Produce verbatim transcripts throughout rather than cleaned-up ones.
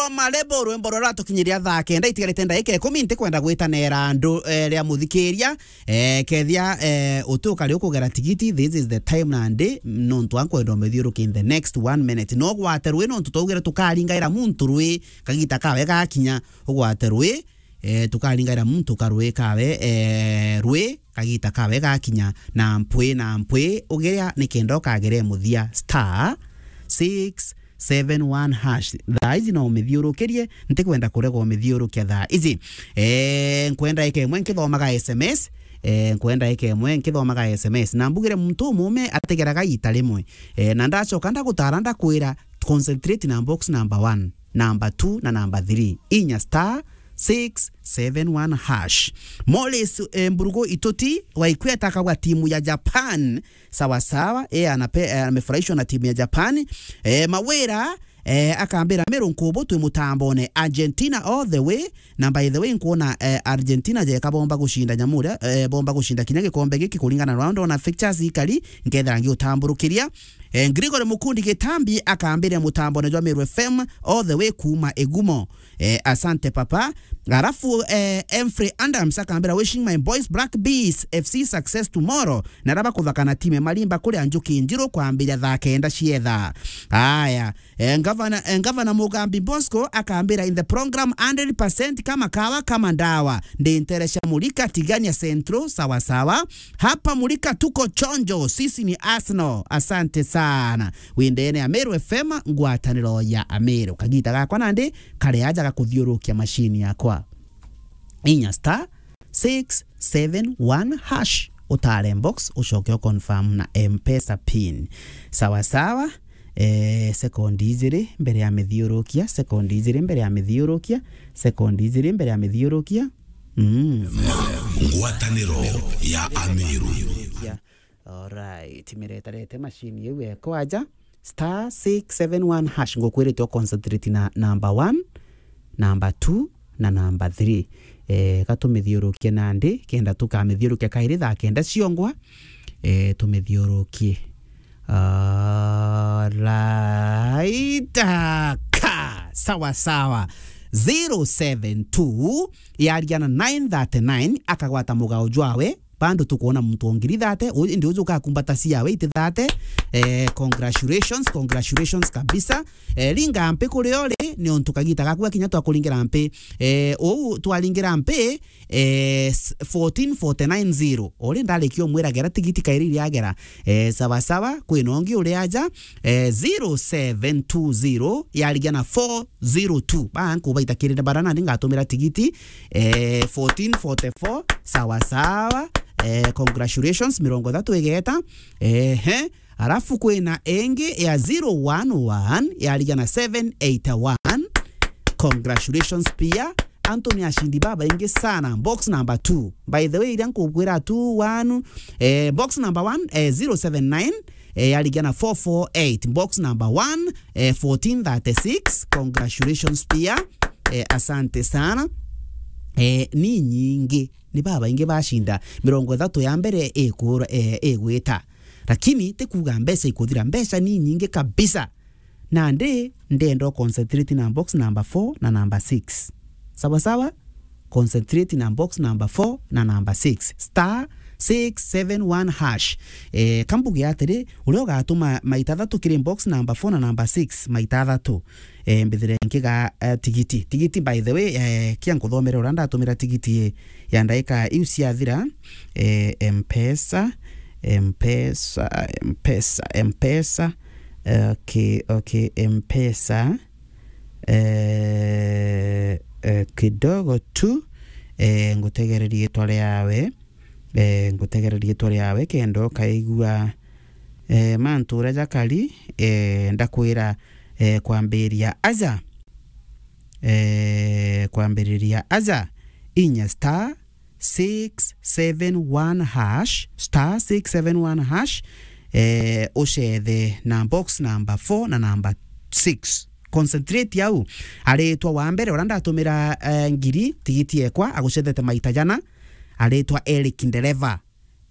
Marebo, rwimbo ruria ruratukinyiria thaa kenda itigarite ndagika ikumi, ntikwenda gwitanera andu, eh, ria muthikiria, eh, kethia, eh, uti ukari ukugera tigiti, this is the time nandi, nontu ankwenda umithiuruki in the next one minute. No ugwate rwi, nontu twaugire tukaringaira muntu rwi, kagita kawe gakinya, ugwate rwi, eh, tukaringaira muntu karwi kawe, eh, rwi, kagita kawe gakinya, na mpwi, na mpwi, ugiria nikenda ukagere muthia, star six seven one hash. Thaa ici no umithiurukirie, ntikwenda kurega umithiurukia thaa ici. Eh, nkwenda eke imwe nkithomaga S M S, eh, nkwenda eke imwe nkithomaga S M S. Na mbugire muntu umume ategeraga ita rimwe. Eh, na ndacoka ndagutara ndakwira, concentrate na box number one, number two na number three. Inya star six seven one hash. Morris, eh, Mburugu Ituti wa Ikweta akauga timu ya Japan. Sawa sawa, eh, anape-, eh, amefurahishwa na timu ya Japan. Eh, Mawira, eh, akambira, "Meru nkubu twi mutambone, Argentina all the way." Na by the way, nkuona, eh, Argentina jeka bomba gucinda nyamu uria, eh, bomba gucinda kinya gikombe giki kuringana na uria ndona fixtures ikari, nkethira ngiutamburukiria. Eh, Gregory Mukundi Gitambi akambira, "Mutambone jwa Meru F M all the way kuuma Igumo." Eh, asante papa. Alafu, eh, Emfrey Adams akambira, "Wishing my boys Black Bees F C success tomorrow." Na raba kuthaka na time marimba kuria Njuki Njiru kwambiria thaa kenda cietha. Aya, eh, Ngavana, eh, Ngavana Mugambi Bosco akambira, "In the program hundred percent kama kawa kama ndawa. Ndi ntere cia Murika, Tigania Central, sawa sawa. Hapa Murika tuko chonjo, sisi ni Arsenal." Asante sana. Wi ndene ya Meru F M, ngwataniro ya Ameru. Kagita gakwa nandi kari aja gakuthiurukia machine yakwa. Inya star six seven one hash, utare box, ucoke u confirm na M-Pesa pin. Sawa sawa. Eh, sekondi ijiri mbere ya mithiurukia, sekondi ijiri mbere ya mithiurukia, sekondi ijiri mbere ya mithiurukia. Mm. Ngwataniro ya Ameru. Ya. Alright, miretarete machine iu eko aja, star six seven one hash, ngukwirite u concentrate na number one, number two na number three. Eh, ka tumithiurukie nandi, kenda tukamithiurukia kairi thaa kenda ciongwa, eh, tumithiurukie. Alright, ka, sawa sawa. Zero seven two yaria na nine thirty-nine, akagwata mugao jwawe, bado tukwona muntu o ngiri thate, u-, indi uju ukakumbata ciawe iti thate. Eh, congratulations, congratulations kabisa. Eh, ringa mpi kuria uri, ni untu kagita gaku gakinya twakuringira mpi. Eh, uu twaringira mpi, eh, s-, fourteen forty-nine zero. Uri ndarikia umwira gera tigiti kairi iria agera. Eh, sawa sawa, kwina ungi uri aja, eh, zero seven two zero, yarigia na four zero two. Ba nkubaita kirire bara nandi ngatumira tigiti, eh, fourteen forty-four, sawa sawa. Eh, congratulations, mirongo ithatu igeta. Ehe, alafu kwina ingi ya zero one one, yarigia na seven eight one. Congratulations pia. Antu ni ashindi babaingi sana. Box number two. By the way, iria nkukwira two one, eh, box number one, eh, zero seven nine, eh, yarigia na four four eight. Box number one, eh, fourteen thirty-six. Congratulations pia. Eh, asante sana. Eh, ni nyingi, ni babaingi bashinda. Mirongo ithatu ya mbere ikura, eh, igwita. Lakini ti kuuga mbeca ikuthira, mbeca ni nyingi kabisa. Nandi ndenda u concentrate na box number four na number six. Sawa sawa? Concentrate na box number four na number six. Star six seven one hash. Eh, kambuge atiri, uria ugatuma maita thatu kiri box number four na number six, maita thatu, eh, mbithire nkiga, eh, tigiti. Tigiti, by the way, eh, kia nkuthomere uria ndatumira tigiti, eh, ya ndaika iu ciathira, eh, M-Pesa, M-Pesa, M-Pesa, M-Pesa. Okay, okay, M-Pesa. Eh, eh, kidogo tu, eh, ngutegererie ritwa riawe, eh, ngutegererie ritwa riawe kenda ukaigua, eh, mantu uria jakari, eh, ndakwira, eh, kwambiria aja, eh, kwambiriria aja, inya star six seven one hash, star six seven one hash, eh, ucethe na box number four na number six. Concentrate au. Aritwa wa mbere uria ndatumira, eh, ngiri tigiti ekwa, agucethete maita jana. Aritwa Eric Ndereva.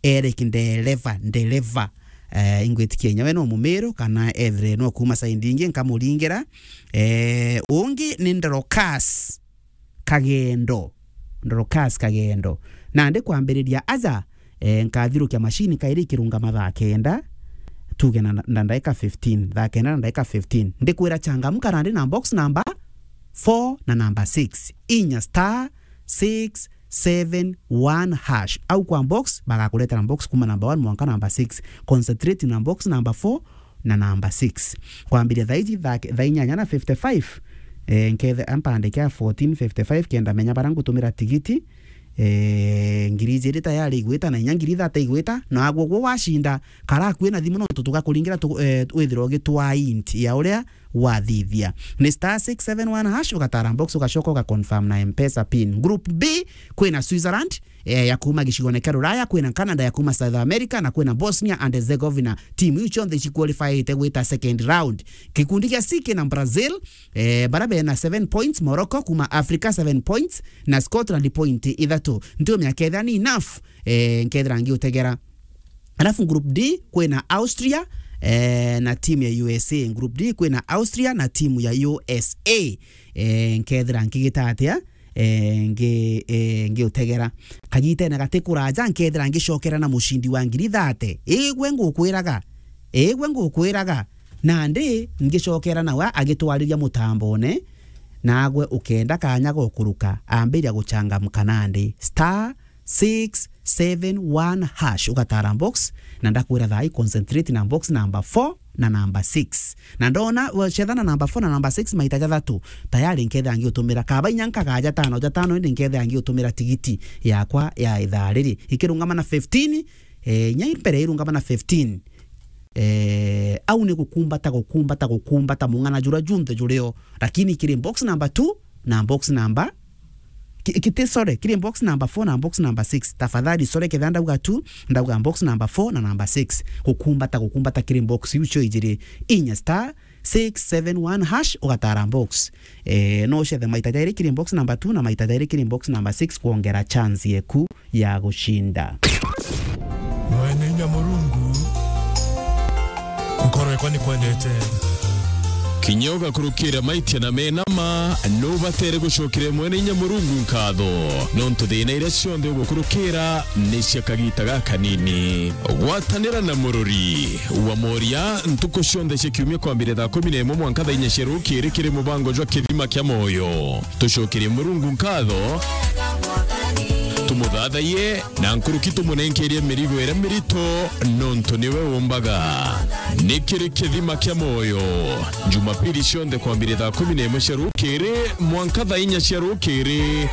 Eric Ndereva, Ndereva. Eh, ingwitikia inya we no Mumiru, kana ethire no kuuma side ingi, nkamuringira. Eh, ungi ni Ndorokas Kagendo. Ndorokas Kagendo. Nandi kwambiriria aja, eh, nkathirukia machine kairi ikirungama thaa kenda, tuge na, na ndaika fifteen, thaa kenda na ndaika fifteen. Ndikwira changamka nandi na box number four na number six. Inya star six seven one hash. Au kwa box, bagakuretera box kuma number one mwanka number six. Concentrate na box number four na number six. Kwambiria thaa iji thaa, thaa inyanya na fifty-five, eh, nkethe ampandike a fourteen fifty-five kenda menya bara ngutumira tigiti, eh, ngiri ijiri tayari igwita na inya ngiri ithatu igwita, na agwo gwo wacinda, kara kwina thimu nontu tugakuringira tu-, eh, withirwa ugitwaa int ya uria wathithia. Ni star six seven one hash, ugatara box, ugacoka ugaconfirm na M-Pesa pin. Group B, kwina Switzerland, eh, ya kuma gicigone kia Ruraya, kwina Canada ya kuma South America, na kwina Bosnia and Herzegovina. Timu iu cionthe iciqualifyite gwita second round. Gikundi gia C kina Brazil, eh, bara bena seven points, Morocco kuma Africa seven points, na Scotland point ithatu. Ntiumenya kethira ni enough, eh, nkethira ngiutegera. Alafu group D kwina Austria, eh, na timu ya U S A. Group D kwina Austria na timu ya U S A. Eh, nkethira nkigita atia? Eh, ngi-, eh, ngiutegera. Kagitene gati kuraja, nkethira ngicokera na mucindi wa ngiri thate. Igwe ngukwiraga. Igwe ngukwiraga. Nandi ngicokera nawe agitwariria mutambone, nagwe ukenda kanya gokuruka, ambiria guchangamka nandi. Star six seven one hash, ugatara box, na ndakwira thaa ii concentrate na box number four na number six. Na ndona, wacetha na number four na number six maita jathatu, tayari nkethira ngiutumira kaba inya nkaga jatano, jatano indi nkethira ngiutumira tigiti yakwa ya ithaa riri. Ikirungama na fifteen, eh, inya mbere irungama na fifteen. Eh, au ni gukumbata, gukumbata, gukumbata mung'ana jura junthe jurio, lakini kiri box number two na box number, ki-, kiti, sorry, kiri box number four na box number six. Tafadhali, sorry, ketha ndauga two, ndauga box number four na number six. Gukumbata, gukumbata kiri box iu cio ijiri, inya star six seven one hash, ugatara box. Eh, no ucethe maita jairi kiri box number two na maita jairi kiri box number six kwongera chance yeku ya gucinda. Mwene inya Murungu, nkoro yakwa nikwendete. Kinya ugakurukira maitia na mena ma, nubatere gucokeria Mwene inya Murungu nkatho, nontu thina iria cionthe ugukurukira ni cia kagita gakanini. Gwatanira na Murori wa Moria ntuku cionthe cia kiumia kwambiria thaa kumi na imwe mwanka thaa inya cia rukiri kiri mubango jwa Kithima kia Moyo. Tucokerie Murungu nkatho, tumuthathaiye, na nkuruki tumunenkerie mirigo iria mirito, nontu niwe umbaga. Ni kiri Kithima kia Moyo, Jumapili cionthe kwambiria thaa kumi na imwe cia rukiri mwanka thaa inya cia rukiri.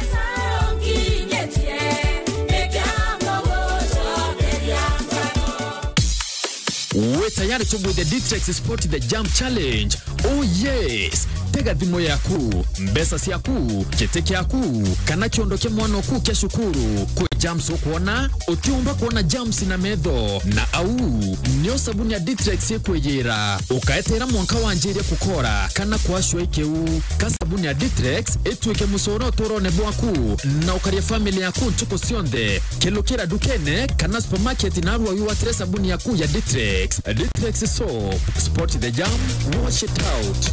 Wi tayari tugwithia Ditrex Sport the Jump Challenge? Oh yes! Tega thimu yaku, mbeca ciaku, giti kiaku, kana kiondo kia mwana oku kia cukuru. Kwi jumps ukwona utiumba kwona jumps na metho, na au nio sabuni ya Ditrex ikwiyira. Ukaeteera mwanka wanjirie kukora kana kwacua ikiu. Ka sabuni ya Ditrex ituike mucoro uturone bwaku, na ukaria family yaku ntuku cionthe. Kelukira ndukene kana supermarket narua wigwatire sabuni yaku ya Ditrex. Ditrex soap, spot the jam, wash it out.